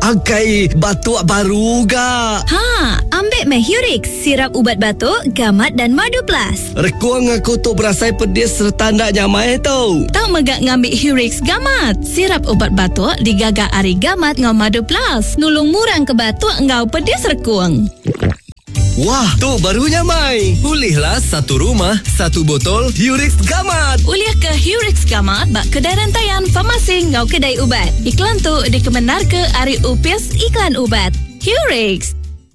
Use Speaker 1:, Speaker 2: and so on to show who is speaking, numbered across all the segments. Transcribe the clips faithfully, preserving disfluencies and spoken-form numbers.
Speaker 1: Akai batuk baru ga.
Speaker 2: Ha, ambil meh Hurix, sirap ubat batuk, gamat dan madu plus.
Speaker 1: Rekung aku tu berasai pedis serta ndak nyamai tu.
Speaker 3: Tau megak ngambil Hurix gamat. Sirap ubat batuk digaga ari gamat ngau madu plus. Nulung murang ke batuk ngau pedis rekung.
Speaker 1: Wah, tu baru nyamai. Ulihlah satu rumah, satu botol Hurix Gamat.
Speaker 3: Ulih ke Hurix Gamat bak kedai rantaian farmasi ngau kedai ubat. Iklan tu dikemenar ke ari Upis Iklan Ubat. Hurix.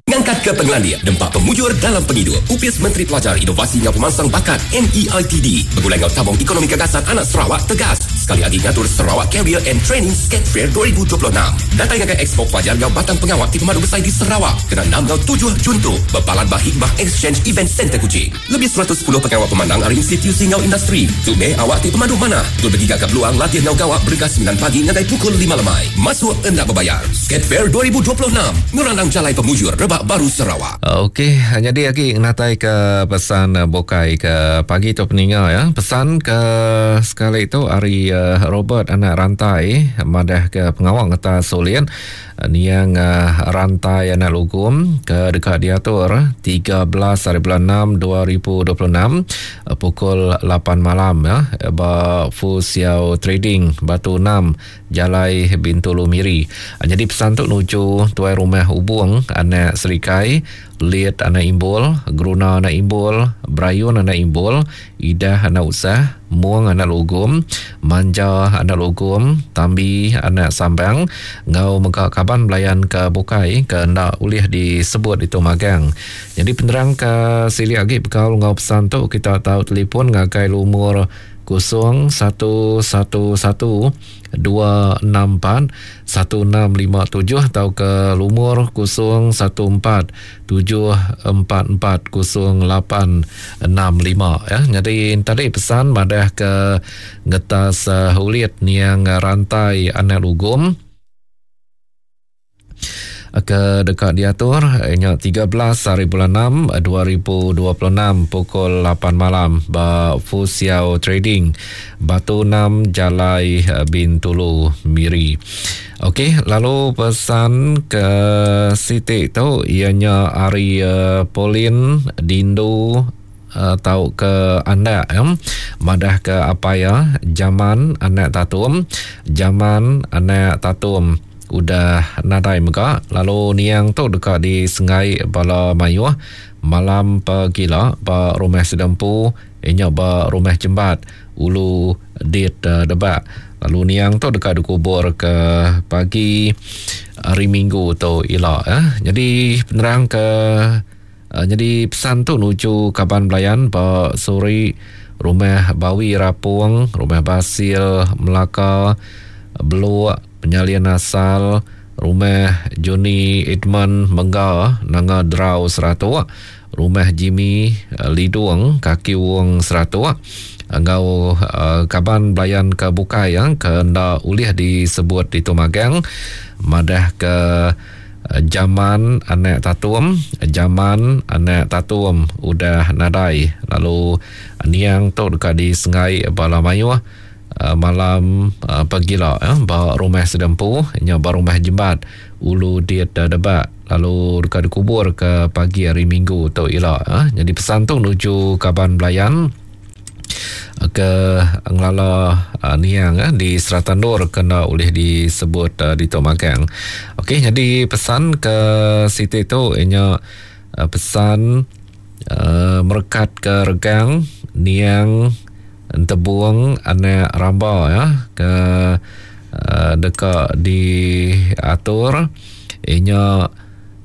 Speaker 4: Ngangkat ke pengelandia, dempak pemujur dalam penghidup. Upis Menteri Pelajar Inovasi Ngau Pemansang Bakat N E I T D. Bergulai ngau tabung ekonomi gagasan anak Sarawak tegas. Sekali lagi ngatur Sarawak Career and Training Skate Fair dua ribu dua puluh enam. Datang ngagai Expo Pelajar ngau Batang Pengawak di Pemadu Besar di Sarawak. Kena enam ngau tujuh Jun tu. Berpalan bah Hikmah Exchange Event Center Kuching. Lebih seratus sepuluh pengawak pemandang ari institusi ngau industri. Tu meh awak ti pemadu mana. Tu bergiga ke peluang latih ngau gawak bergas sembilan pagi ngagai pukul lima lemai. Masuk endak berbayar. Skate Fair dua ribu dua puluh enam. Ngerandang jalai pemujur rebak baru Sarawak.
Speaker 5: Okey, jadi lagi natai ke pesan bukai ke pagi tu peninga ya. Pesan ke sekali tu hari Robert anak rantai madah ke pengawak ngeta Solian niang rantai anak lugum ke dekat diatur tiga belas hari bulan enam dua ribu dua puluh enam pukul lapan malam ya ba Fusiao Trading Batu enam Jalai Bintulu Miri. Jadi pesan tu nuju tuai rumah Ubung anak Serikai, Liet anak Imbul, Geruna anak Imbul, Brayun anak Imbul, Idah anak Usah, Muang anak Lugum, Manja anak Lugum, Tambi anak Sambang, ngau mega kaban belayan ke Bukai ke ndak ulih disebut itu magang. Jadi penerang ke sili agi bekal ngau pesan tu kita tahu telefon ngagai lumur kosong satu satu satu dua enam empat satu enam lima tujuh atau ke lumur kosong satu empat tujuh empat empat kosong lapan enam lima ya. Jadi tadi pesan madah ke ngetas uh, ulit niang rantai anak lugum ke dekat diatur nya tiga belas hari bulan enam dua ribu dua puluh enam pukul lapan malam ba Fusiao Trading Batu enam Jalai Bintulu Miri. Okey, lalu pesan ke Siti tu ianya hari uh, Polin Dindu Uh, tau ke anak ya. Madah ke apa ya jaman anak tatum, jaman anak tatum udah nadai mega lalu niang tu dekat di Sengai Bala Mayuh malam pagila ba rumah Sedempu inya ba rumah Jembat Ulu Dit uh, Debak lalu niang tu dekat dikubur ke pagi hari Minggu tu ila ya. Jadi penerang ke Uh, jadi pesan tu nuju kaban belayan ba suri rumah Bawi Rapung, rumah Basil Melaka, Beluk Penyalian Asal, rumah Johnny Edmund Mengga Nanga Drau Seratuk, rumah Jimmy Lidung Kaki Wong Seratuk, ngau uh, kaban belayan ke Bukai yang ke ndak ulih disebut di Tumagang madah ke jaman anak tatum, jaman anak tatum udah nadai lalu niang tu dekat di Sengai Bala Mayuh malam pagila ya ba rumah Sedempu nya ba rumah Jembat Ulu Dit Debak lalu dekat dikubur ke pagi hari Minggu tu ila ya. Jadi pesan tu nuju kaban belayan ke ngelala uh, niang eh, di Seratandur kena oleh disebut uh, di Tok Magang. Okey, jadi pesan ke Siti tu ianya uh, pesan uh, merekat ke regang niang entebuang anak ramba ya ke uh, dekat diatur ianya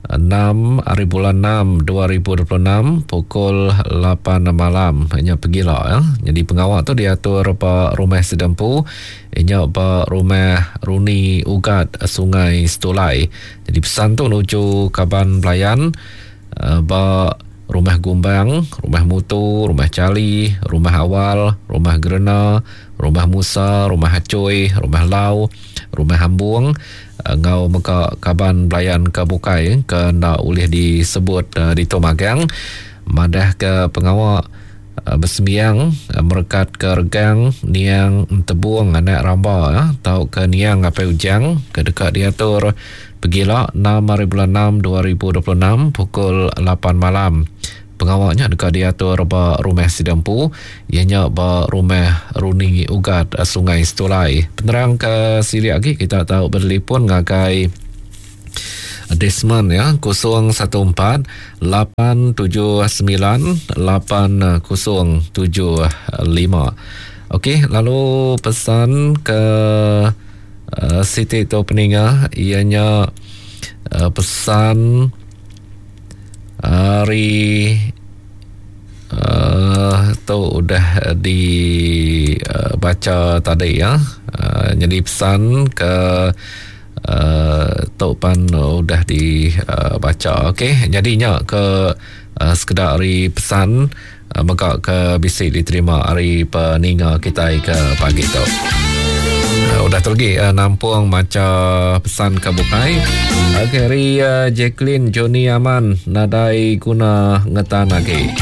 Speaker 5: enam hari bulan enam dua ribu dua puluh enam pukul lapan malam ianya pergilah ya. Jadi pengawal tu diatur ba rumah Sedempu ianya ba rumah Runi Ugat Sungai Setulai. Jadi pesan tu nuju kaban belayan ba rumah Gumbang, rumah Mutu, rumah Cali, rumah Awal, rumah Gerena, rumah Musa, rumah Hacoy, rumah Lau, rumah Hambung ngau mega kaban belayan ke Bukai ke ndak ulih disebut uh, di Tomagang madah ke pengawak Besembiang merekat ke regang niang Entebung anak Ramba tau ke niang Apai Ujang ke deka diatur pegila enam hari bulan enam dua ribu dua puluh enam pukul lapan malam. Pengawaknya deka diatur ba rumah Sidempu, ianya ba rumah Runi Ugat Sungai Setulai. Penerang ke silik lagi kita tahu bertelefon ngagai Desmond ya kosong satu empat lapan tujuh sembilan lapan kosong tujuh lima. Okey, lalu pesan ke uh, Siti tu peninga ianya uh, pesan hari uh, tu udah dibaca uh, tadi ya. Uh, jadi pesan ke Uh, tok pan udah dibaca. Uh, Okey, jadinya ke uh, sekedar hari pesan uh, mega ke bisi diterima hari peninga kita ke pagi tu. Uh, udah tu lagi uh, nampung maca pesan ke bukai. Okey, hari uh, Jacqueline Johnny Aman nadai guna ngetan lagi.